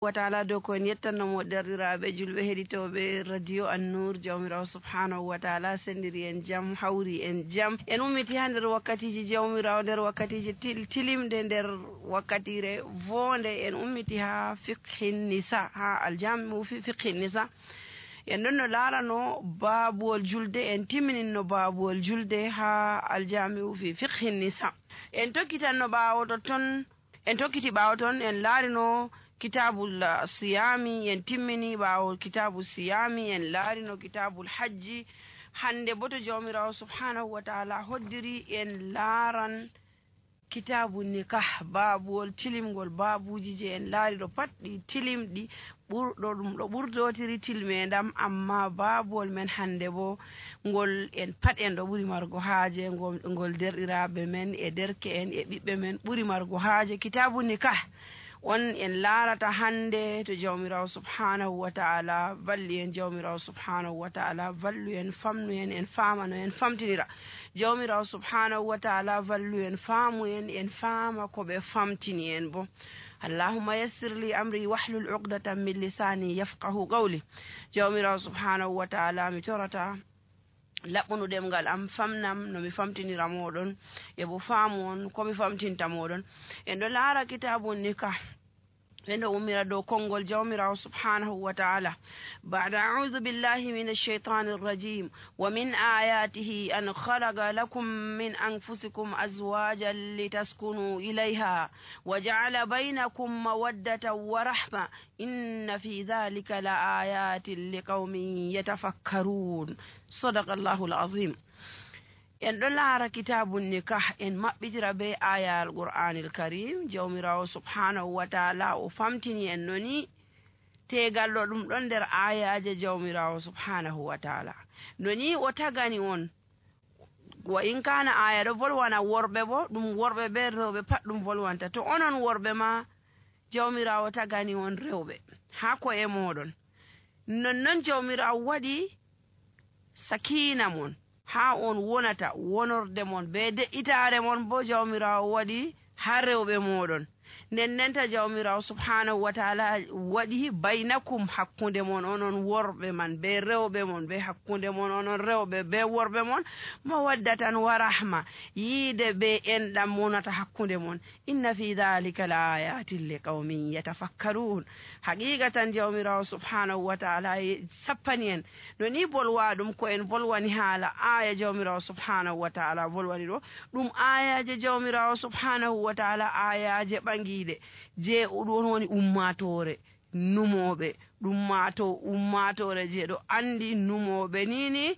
wa taala dow ko en yettannomo derɗiraaɓe julɓe heɗitooɓe radio An-Nur jawmirawo subhanahu wa taala sendiri en jam hawri en jam en ummiti ha nder wakkatiji jawmirawo nder wakkatiji tilimde nder wakkatire voonde en ummiti ha fiqhin nisa ha aljamiu fiqhin nisa en ɗon no laarano baabuwol julde en timmininno baabuwol julde ha aljamiu fi fiqhin nisa en tokkitanno ɓaawo ton en tokkiti ɓaawo ton en laarino kitabul siyami en timmini ɓaawo kitabu siyami en laarino kitabul hajji hande bo to jawmirawo subhanahu wa taala hoddiri en laaran kitabu nikah baabuwol tilimgol baabuji je en laari ɗo pat ɗi tilimɗi ɓurɗo ɗum ɗo ɓurdotiri tilmedam amma baabuwol men hande bo ngol en pat en ɗo ɓuri margo haaje ngol derɗiraɓe men e derke en e ɓiɓɓe men ɓuri margo haaje kitabu nikah on en laarata hande to jawmirawo subhanahu wa taala valli en jawmirawo subhanahu wa taala vallu en famnu en faamano en famtinira jawmirawo subhanahu wa taala vallu en faamu en faama ko ɓe famtini en bo allahumma yassir li amri wahlul uqdatan min lisani yafqahu qawli jawmirawo subhanahu wa taala mi torata laɓɓunu ɗemgal am famnam no mi famtinira moɗon e bo faamu on komi famtinta moɗon en ɗo laara kitabu nikah en ɗo ummira dow konngol jawmirawo subhanahu wa taala ba'da a'udhu billahi minash shaitanir rajim wa min ayatihi an khalaqa lakum min anfusikum azwajan litaskunu ilayha wa ja'ala bainakum mawaddatan wa rahma inna fi dhalika la ayatin liqaumin yatafakkarun sadaqallahu alazim en ɗo laara kitabu nikah en maɓɓitira be aya al qur'anil karim jawmirawo subhanahu wa taala o famtini en noni tegal ɗo ɗum ɗon nder ayaje jawmirawo subhanahu wa taala noni o tagani on wa in kana aya ɗo volwana worɓe bo ɗum worɓe be rewɓe pat ɗum volwanta to onon worɓe ma jawmirawo tagani on rewɓe ha ko e moɗon nonnon jawmirawo waɗi sakina mon ha on wonata wonorde mon be de'itare mon bo jawmirawo waɗi ha rewɓe moɗon nennenta jawmirawo subhanahu wa taala waɗi baynakum hakkunde mon onon worɓe man be rewɓe mon be hakkunde mon onon rewɓe be worɓe mon mawaddatan wa rahma yiide be enɗam monata hakkunde mon inna fi dhalika la ayatin li qaumin yatafakkarun haqiqatan jawmirawo subhanahu wa taala sappani en no ni bolwa ɗum ko en bolwani haala aya jawmirawo subhanahu wa taala bolwani ɗo ɗum ayaje jawmirawo subhanahu wa taala ayaje ɓangiɗe je ɗon woni ummatore numoɓe ummatore je ɗo andi numoɓe nini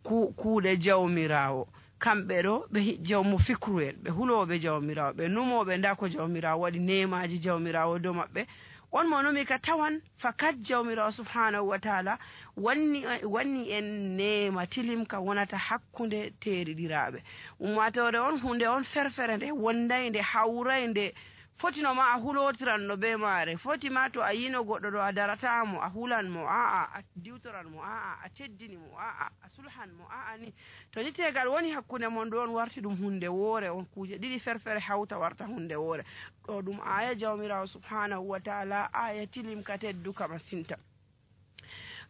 kuuɗe jawmirawo kamɓe ɗo ɓe jawmu fikruel ɓe huloɓe jawmirawo ɓe numoɓe nda ko jawmirawo waɗi nemaji jawmirawo dow maɓɓe on mo numi ka tawan fakat jawmirawo subhanahu wa taala wanni en nema tilim ka wonata hakkunde teriɗiraɓe ummatore on hunde on ferfere nde wonday nde hawray nde fotino ma a hulotiranno be maare foti ma to a yino goɗɗo ɗo a daratamo a hulan mo a'a a diwtoran mo a'a a teddini mo a'a a sulhan mo a'a ni to ni tegal woni hakkunde mon ɗo on warti ɗum hunde woore on kuje ɗiɗi ferfere hawta warta hunde woore ɗo ɗum aya jawmirawo subhanahu wa taala aya tilim ka tedduka masinta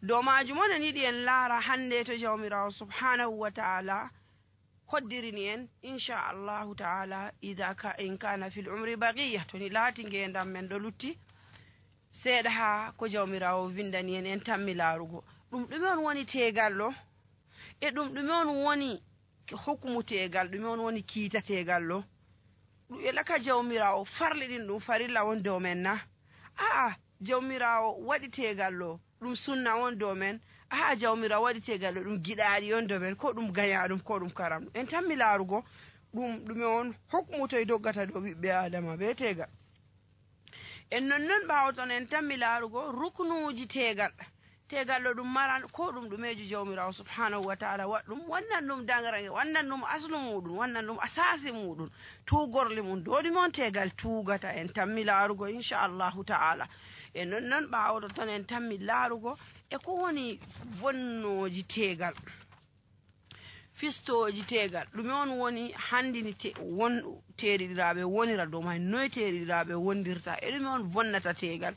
dow majum onon yiɗi en laara hande to jawmirawo subhanahu wa taala hoddirini en inchallahu taala in kana fil umri baqiya to ni laati ngendam men ɗo lutti seeɗa ha ko jawmirawo windani en tammi laarugo ɗum ɗume on woni tegal ɗo e ɗum ɗume on woni hukmu tegal ɗume on woni kiita tegal ɗo elaka jawmirawo farliɗin ɗum farilla won dow men na a'a jawmirawo waɗi tegal ɗo ɗum sunna won dow men a'a jawmirawo waɗi tegal ɗo ɗum giɗaɗi on dow men ko ɗum gañaɗum ko ɗum karam en tammi laarugo ɗume on hukmu toye doggata dow ɓiɓɓe adama be tegal en nonnon ɓawo ton en tammi laarugo ruknuji tegal ɗo ɗum maran ko ɗum ɗumeji jawmirawo subhanahu wa taala waɗɗum wannan ɗum dangrage wannan ɗum aslu muɗum wannan ɗum asasi muɗum tugorli mum dow ɗume on tegal tugata en tammi laarugo inchallahu taala e nonnon ɓawoɗo ton en tammi laarugo e ko woni bonnoji tegal fistoji tegal ɗume on woni handini won teriɗiraɓe wonira dow may noye teriɗiraɓe wondirta e ɗume on bonnata tegal